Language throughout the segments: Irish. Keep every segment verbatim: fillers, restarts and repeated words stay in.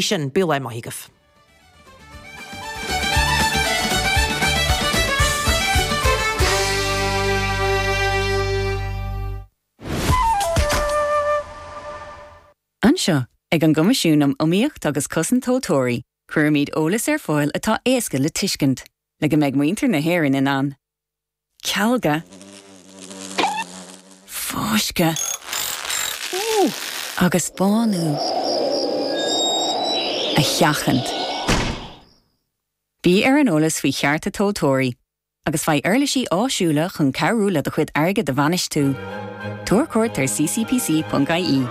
sin bí le maith agaibh. Anseo ag an gCoimisiún um Iomaíocht agus Cosaint Tomhaltóirí, cuirimid eolas ar fáil atá éasca le tuiscint, le go mbeidh muintir na hÉireann in ann. Cealga, fáisceadh agus bánú a sheachaint. Bí ar an eolas faoi chearta tomhaltóirí, agus faigh uirlisí áisiúla chun cabhrú le do chuid airgid a bhainistiú. Tabhair cuairt ar ccpc.ie.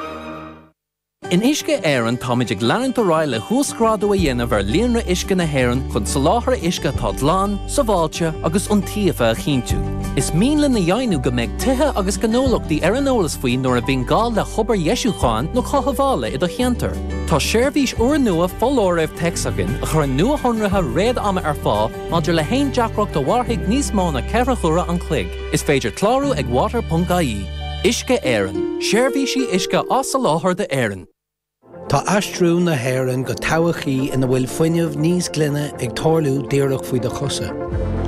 In Uisce Éireann táimid ag leanúint ar aghaidh le huasghrádú a dhéanamh ar líonra uisce na hÉireann chun soláthar uisce atá glan, sábháilte agus iontaofa a chinntiú. Is mian linn a dheimhniú go mbeidh tithe agus gnólachtaí ar an eolas faoi nuair a bhíonn gá le hobair dheisiúcháin nó cothabhála i do cheantar. Tá seirbhís úrnua foláirimh téacs againn a chuireann nuashonruithe réad-ama ar fáil maidir le haon deacracht a mhairfidh níos mó ná ceithre huaire an chloig. Is féidir clárú ag water.ie. Uisce Éireann, seirbhísí uisce á soláthar d'Éirinn. Tá aistriú na hÉireann go todhchaí ina bhfuil fuinneamh níos glaine ag tarlú díreach faoi do chosa.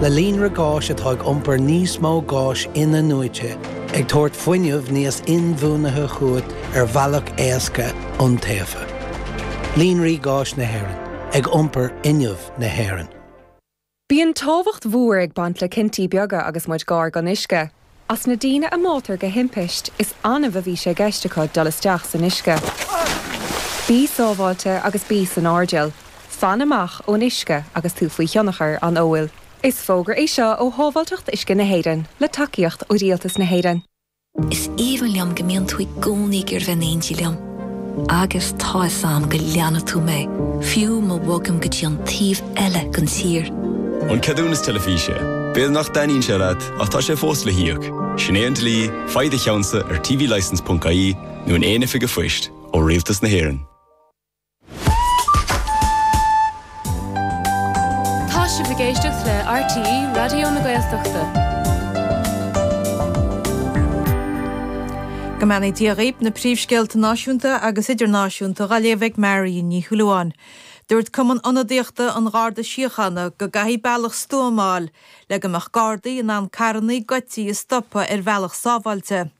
Le líonra gáis atá ag iompar níos mó gáis in-athnuaite, ag tabhairt fuinneamh níos inbhuanaithe chugat ar bhealach éasca iontaofa. Líonraí Gáis na hÉireann, ag iompar fhuinneamh na hÉireann. Bíonn tábhacht mhór ag baint le cinntí beaga agus muid gar don uisce. As na daoine a mbáitear de thimpist, is annamh a bhí sé i gceist acu dul isteach san uisce. Bí sábháilte agus bí san airdeall. Fan amach ón uisce agus tú faoi thionchar an óil. Is fógra é seo ó Shábháilteacht Uisce na hÉireann, le tacaíocht ó Rialtas na hÉireann. Is aoibhinn liom go mbíonn tú i gcónaí ag iarraidh bheith in éindí liom. Agus tá a fhios agam go leanfaidh tú mé, fiú má bhogaim go dtí an taobh eile den tír. An ceadúnas teilifíse. B'fhéidir nach dtaitníonn sé leat, ach tá sé fós le híoc. Sin é an dlí, faigh do cheannsa ar tvlicence.ie nó in aon oifig an phoist ó Rialtas na hÉireann. Tá sibh ag éisteacht le RTÉ Raidió na Gaeltachta. Go mbeannaí Dia dhaoibh na príomhscéalta náisiúnta agus idirnáisiúnta á léamh ag Marion Ní Shúilleabháin. Dúirt Cumann Ionadaíochta an Gharda Síochána go gcaithfidh bealach stuama a fháil le go mbeadh Gardaí in ann carranna goidte a stopadh ar bhealach sábháilte.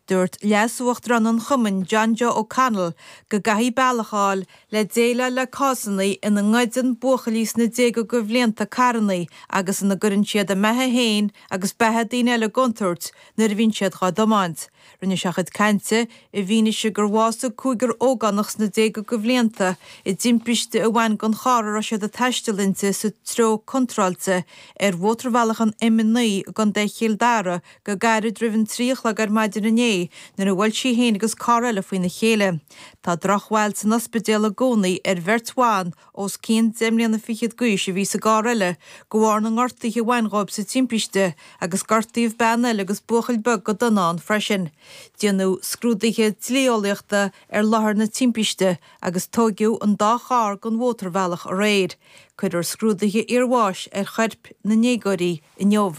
Dúirt Leas-Uachtarán an Chumainn John Joe O'Connell go gcaithfidh bealach a fháil le déileáil le cásanna ina ngoideann buachaillí sna déaga de bhlianta carranna agus ina gcuireann siad a mbeatha féin agus beatha daoine eile i gcontúirt nuair a bhíonn siad á dtiomáint. Rinne sé a chuid cainte i bhfianaise gur bhásaigh cúigear ógánach sna déaga de bhlianta i dtimpiste a bhain den charr a raibh siad ag taisteal inti sa treo contráilte ar mhótarbhealach an M a naoi i gContae Chill Dara go gairid roimh an trí a chlog ar maidin inné nuair a bhuail sí féin agus carr eile faoina chéile. Tá drochbhail san ospidéal i gcónaí ar bheirt bhan os cionn deich mbliana fichead d'aois a bhí sa gcarr eile de bharr na ngortuithe a bhain dhóibh sa timpiste agus gortaíodh bean eile agus buachaill beag go dona ann freisin. Déanadh scrúduithe dlí-eolaíochta ar láthair na timpiste agus tóigeadh an dá charr den mhótarbhealach aréir. Cuirfear scrúduithe iarbháis ar choirp na ndéagóirí inniu.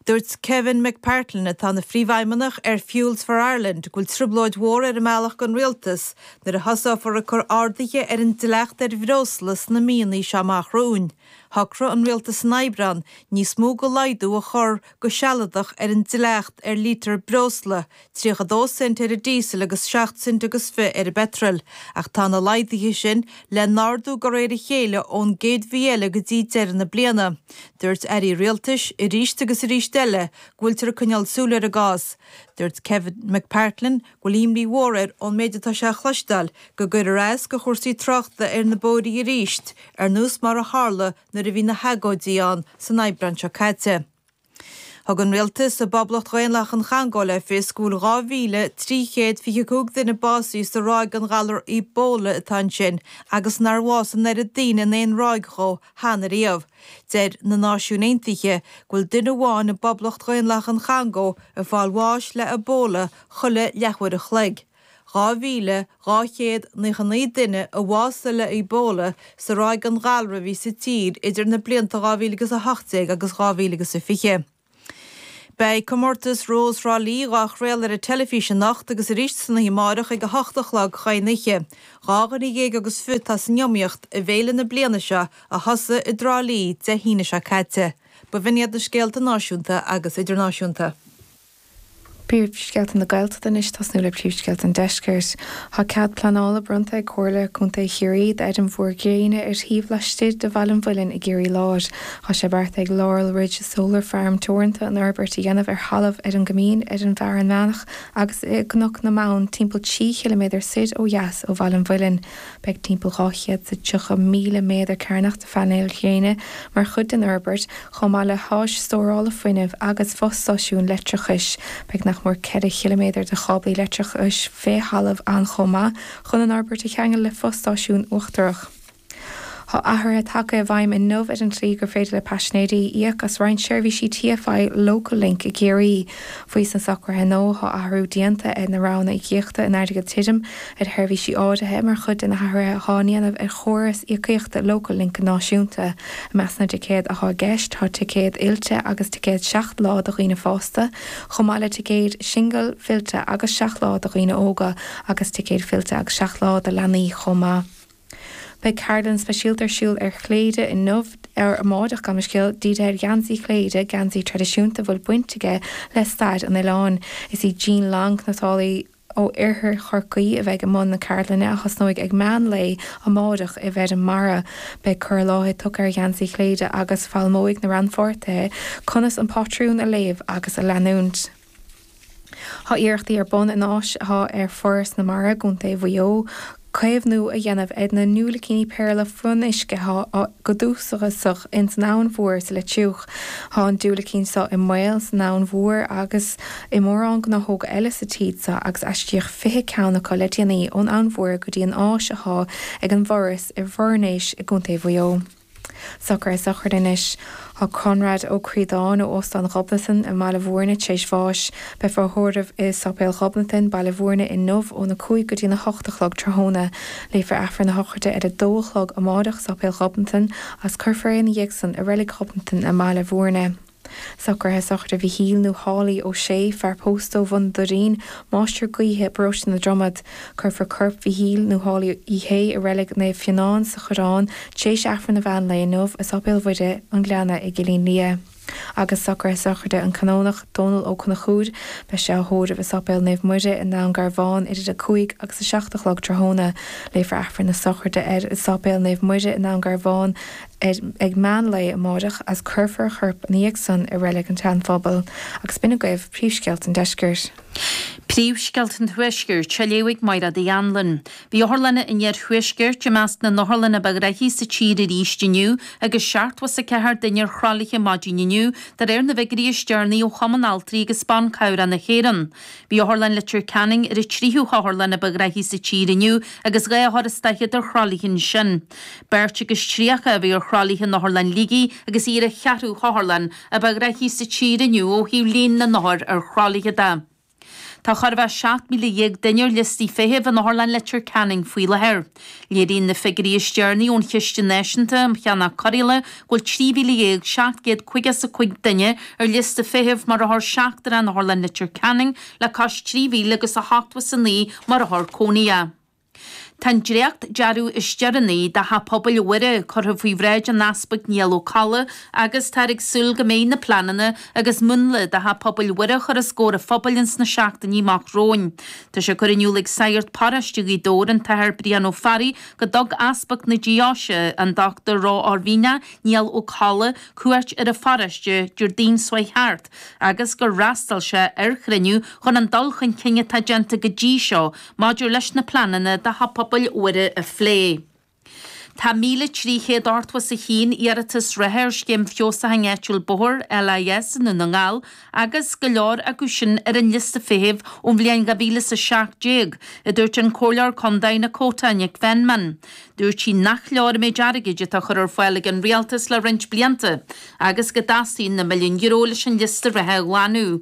Dúirt Kevin McPartland atá ina phríomhfheidhmeannach ar Fuels for Ireland go bhfuil trioblóid mhór ar an mbealach don rialtas nuair a thosófar ag cur arduithe ar an dleacht ar bhreosla sna míonna seo amach romhainn. Shocraigh an rialtas in Aibreán níos mó de laghdú a chur go sealadach ar an dleacht ar lítear breosla, tríocha dó cent ar an díosal agus seacht cent agus fiche ar an bpeitreal, ach tá na laghduithe sin le n-ardú de réir a chéile ón gcéad mhí eile go dtí deireadh na bliana. Dúirt airí rialtais arís agus arís eile go bhfuiltear ag coinneáil súil ar an gcás. Dúirt Kevin McPartland go bhfuil imní mhór air ón méid atá sé a chloisteáil go gcuirfear as do chúrsaí tráchta ar na bóithre arís, ar nós mar a tharla nuair a bhí na hagóidí ann san Aibreán seo caite. Thug an rialtas i bPoblacht Dhaonlathach an Chongó le fios go bhfuil dhá mhíle trí chéad fiche cúig duine básaithe sa ráig den ghalar Ebola atá ansin agus nár bhásaigh an oiread daoine in aon ráig dhó cheana riamh. Deir na Náisiúin Aontaithe go bhfuil duine amháin i bPoblacht Dhaonlathach an Chongó ag fáil bháis le Ebola chuile leathuair a chloig. dhá mhíle dhá chéad naocha naoi duine a bhásaigh le Ebola sa ráig den ghalra a bhí sa tír idir na blianta dhá mhíle agus a hocht déag agus dhá mhíle agus a fiche. Beidh comórtas Rós Thrá Lí á chraoladh ar an teilifís anocht agus arís san oíche amárach ag a hocht a chlog chun oíche. Dhá dhuine dhéag agus fiche atá san iomaíocht i bhféile na bliana seo a thosaigh i dTrá Lí Dé hAoine seo caite. B'in iad na scéalta náisiúnta agus idirnáisiúnta. Príomhscéalta na Gaeltachta anois tosnú le príomhscéalta an deiscirt. Tá cead pleanála bronnta ag Comhairle Contae Chiarraí d'fheirm mhór gréine ar thaobh laistigh de Bhaile an Mhuilinn i gCiarraí Láir. Tá sé beartaithe ag Laurel Ridge Solar Farm Teoranta an fhorbairt a dhéanamh ar thalamh ar an gCoimín ar an bhFearann Meánach agus i gCnoc na mBonn timpeall trí chiliméadar soir ó dheas ó Bhaile an Mhuilinn. Beidh timpeall dhá chéad is tríocha míle méadar cearnach de phainéil ghréine mar chuid den fhorbairt, chomh maith le háis stórála fuinnimh agus fostáisiún leictreachais. Beidh nach mór ceithre chiliméadar de cháblaí leictreachais fé thalamh ann chomh maith chun an fhorbairt a cheangal le fostáisiún uachtarach. Tá athruithe tagtha i bhfeidhm inniu ar an tslí gur féidir le paisinéirí íoc as roinnt seirbhísí TFI Local Link i gCiarraí. Faoi sna socruithe nua tá athrú déanta ar na roghanna íocaíochta in airgead tirim ar sheirbhísí áirithe mar chuid de na hathruithe atá á ndéanamh ar chóras íocaíochta Local Link náisiúnta. I measc na dticéad atá i gceist tá ticéad fillte agus ticéad seacht lá do dhaoine fásta, chomh maith le ticéid singil, fillte agus seacht lá do dhaoine óga agus ticéad fillte agus seacht lá do leanaí chomh maith. Beidh ceardlann speisialta ar siúl ar Chléire inniu ar amárach gabh mo leithscéal dírithe ar gheansaí Chléire, geansaí traidisiúnta a bhfuil baint aige le stair an oileáin. Is í Jean Long, cniotálaí ó oirthear Chorcaí a bheidh i mbun na ceardlainne a thosnóidh ag meán lae amárach i bhFeirm Mara. Beidh cur i láthair tugtha ar gheansaí Chléire agus foghlaimeoidh na rannpháirtithe conas an pátrún a léamh agus a leanúint. Tá iarrachtaí ar bun in áis atá ar Foras na Mara i gContae Mhaigh Eo caomhnú a dhéanamh ar na ndiúilicíní péarla fionnuisce atá go dúchasach ins an Abhainn Mhór sa Leitriúch. Tá an diúilicín seo i mbaol san Abhainn Mhór agus i mórán gnáthóga eile sa tír seo agus aistríodh fiche ceann acu le déanaí ón Abhainn Mhór go dtí an áis atá ag an bhForas i bhFoirnéis i gContae Mhaigh Eo. Socruithe sochraide anois. Tá Conrad Ó Críodáin ó Óstán Ghobnatan i mBaile Bhúirne tar éis bháis. Beifear á thórramh i Sáipéal Ghobnatan, Baile Bhúirne inniu óna cúig go dtína hocht a chlog tráthnóna. Léifear Aifreann na sochraide ar a dó a chlog amárach i Sáipéal Ghobnatan agus cuirfear é ina dhiaidh san i Reilig Ghobnatan i mBaile Bhúirne. Socruithe sochraide Mhichíl nó Holly Ó Sé, fear pósta ó Bhun Doirín, máistir gaoithe i bparóiste na Dromad. Cuirfear corp Mhichíl nó Holly Uí Shé i Reilig Naomh Fionán sa Choireán tar éis Aifreann an mheán lae inniu i Sáipéal Mhuire an Ghleanna i gCillín Liath. Agus socruithe sochraide an Canónach Dónal Ó Conchúir, beidh sé á thórramh i Sáipéal Naomh Muire i nDún Garbhán idir a cúig agus a seacht a chlog tráthnóna. Léifear Aifreann na sochraide air i Sáipéal Naomh Muire i nDún Garbhán ar ag meán lae amárach agus cuirfear a chorp ina dhiaidh san i Reilig an tSeanphobail. Agus b'in agaibh príomhscéalta an deiscirt. Príomhscéalta an Tuaiscirt, á léamh ag Máire Uí Anluain. Bhí otharlanna an iarthuaiscirt i measc na n-otharlanna ba ghnoithí sa tír arís inniu agus seachtó is a ceathair duine ar thralaithe maidin inniu, de réir na bhfigiúirí is deireanaí ó Chumann Altraí agus Ban Cabhrach na hÉireann. Bhí Otharlann Leitir Ceanainn ar an tríú hotharlann a ba ghnoithí sa tír inniu agus dhá othar is daichead ar thralaithe ansin. Beirt agus tríocha a bhí ar thralaithe in Otharlann Shligigh agus í ar an cheathrú hotharlann a ba ghnoithí sa tír inniu ó thaobh líon na n-othar ar thralaithe de. Tá chóir a bheith seacht míle dhéag duine ar liostaí feithimh in Otharlann Leitir Ceanainn faoi láthair. Léiríonn na figiúirí is deireanaí ón Chiste Náisiúnta um Cheannach Cóireála go bhfuil trí mhíle dhéag seacht gcéad caoga is a cúig duine ar liosta feithimh mar othar seachtrach in Otharlann Leitir Ceanainn le cois trí mhíle agus a hochtó is a naoi mar othar cónaithe. Tá an dréacht-dearadh is deireanaí do Theach Pobail Mhuire curtha faoi bhráid an Easpaig Niall Ó Colla agus táthar ag súil go mbeidh na pleananna agus múnla do Theach Pobail Mhuire curtha os comhair an phobail ins na seachtainí amach romhainn. Tá sé curtha in iúl ag Sagart Paróiste Ghaoth Dobhair, an tAthair Brian Ó Fearraigh, go dtug Easpag na Deoise, an Dr Ró-Oirmhinneach Niall Ó Colla, cuairt ar an pharóiste Déardaoin seo chuaigh thart agus gur fhreastail sé ar chruinniú chun an dul chun cinn atá déanta go dtí seo maidir leis na pleananna do Theach Pobail Mhuire a phlé. Tá míle trí chéad ochtó is a haon iarratas reatha ar Scéim Feabhsúcháin Áitiúil Bóthair, LIS, i nDún na nGall agus go leor acu sin ar an liosta feithimh ón bhliain dhá mhíle is a seacht déag, a dúirt an Comhairleoir Contae Nakota Nic Fenman. Dúirt sí nach leor an méid airgid atá á chur ar fáil ag an Rialtas le roinnt blianta agus go dteastaíonn na milliúin euro leis an liosta reatha a ghlanadh.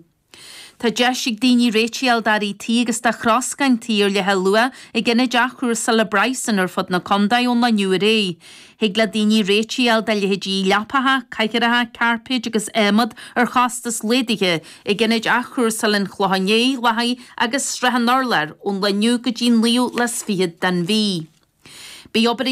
Tá deis ag daoine réitigh a fháil d'earraí tí agus do throscán tí ar leathluach ag ionaid athchúrsála Bryson ar fud na contae ón lá inniu ar aghaidh. Thig le daoine réitigh a fháil do leithéidí leapacha, cathaoireacha, cairpéid agus adhmad ar chostas laghdaithe ag ionaid athchúrsála an Chlocháin Léith, Lathaí agus Srath an Urláir ón lá inniu go dtí an naoú lá is fichead den mhí. Beidh obair